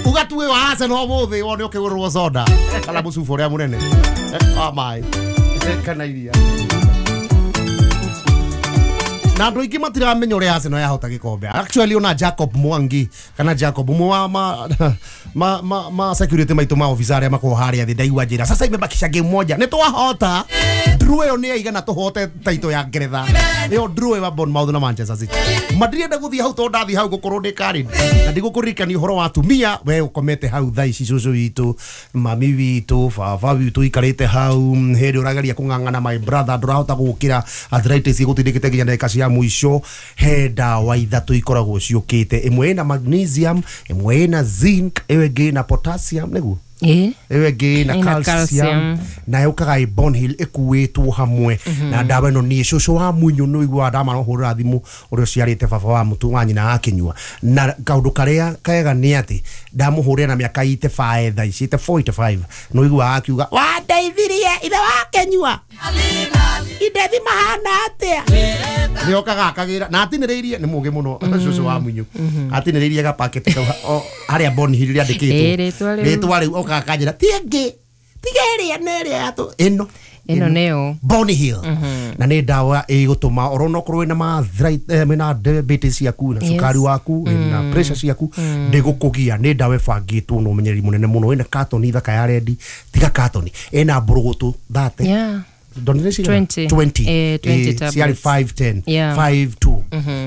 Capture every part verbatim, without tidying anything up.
Uga tuwe wa Arsenal ũmũthĩ wone ũkĩgũrĩrwo soda kana mũcuba ũrĩa mũnene wa maĩ kana iria. Na andũ aingĩ matiramenya ũrĩa Arsenal yahota gĩkombe. Actually, ona Jacob Mwangi kana Jacob ũmwe wa ma, ma, ma, ma security maitũ, ma officer arĩa makoragwo harĩa thĩ, ndaigua njĩra sasa imebakisha game moja nĩ twahota. Draw ĩyo nĩ yaigana tũhote taito ya Ngeretha, ĩyo draw ya Bournemouth na Manchester City. Madirenda gũthiĩ hau tondũ ndathiĩ hau gũkorwo ndĩ Karen na ndigũkũririkania ũhoro wa atumia. We ũkomete hau thaa ici, cũcũ witũ, mami witũ, baba witũ ikarĩte hau, hĩndĩ ũrageria kũng'ang'ana, my brother, ndũrahota gũkĩra, arthritis ĩgũtindĩkĩte nginya ndagĩka cia mũico. He ndawa ithatũ ikoragwo ciũkĩte, ĩmwe ĩna magnesium, ĩmwe ĩna zinc, ĩyo ĩngĩ ĩna potassium, nĩguo? Ĩĩ. Ĩyo ĩngĩ ĩna Ĩna calcium. Calcium. Na yũkaga ĩ Bonhill ĩkuĩtwo hamwe na ndawa ĩno. Niĩ cũcũ wa munyũ nĩ ũiguaga ndamahũrĩra thimũ ũrĩa ũciarĩte baba wa mũtu wa nyina akĩnyua, na kaũndũ karĩa kega nĩ atĩ ndamũhũrĩra na mĩaka eighty-five thaa ici, forty-five, nĩ ũiguaga akiuga, "Wandeithirie ithe wakenyua indethi mahana atĩa?" Nĩ okaga akagĩra na atinĩrĩirie, nĩ mũgĩ mũno cũcũ wa munyũ, atinĩrĩirie gapaketi kau o- harĩa Bonhill rĩandĩkĩtwo. Ĩĩ, rĩtwa rĩu. Rĩtwa rĩu okaga kanjĩra ti ĩngĩ tiga ĩrĩa na ĩrĩa yatũ ĩno. Ĩno nĩyo. Bonhill, na nĩ ndawa ĩgũtũma orona okorwo wĩna ma arthritis, eh, wĩna diabetes ciaku na Yes. cukari waku, wĩna pressure ciaku, ndĩgũkũgia. Nĩ ndawa ĩbangĩtwo na ũmenyereri mũnene mũno. Ĩna katoni thaka ya rendi, tiga katoni, ĩna mbũrũgũtũ thate. Yeah. Ndonire cigana? twenty. twenty. Eh, twenty Eh, tablets. ciarĩ five ten. Yeah. five two,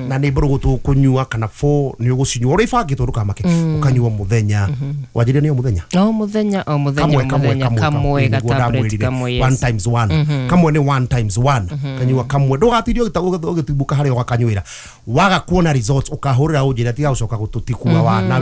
na nĩ mbũrũgũtũ ũkũnyua kana four nĩ ũgũcinyua ũrĩa ibangĩtwo, ndũkamake, ũkanyua mũthenya wanjĩrire nĩ o mũthenya. O mũthenya, o mũthenya. Kamwe. O Kamwe. mũthenya. Kamwe. Kamwe, nĩguo gatablet ndamwĩrire. kamwe, yes. One times one, kamwe nĩ one times one. Kanyua kamwe, ndũgatirie ũgĩtimbũka harĩa ũgakanyuĩra. Waga kuona results, ũkahũrĩra ũnjĩre, tiga gũcoka gũtũtikua wa nawe.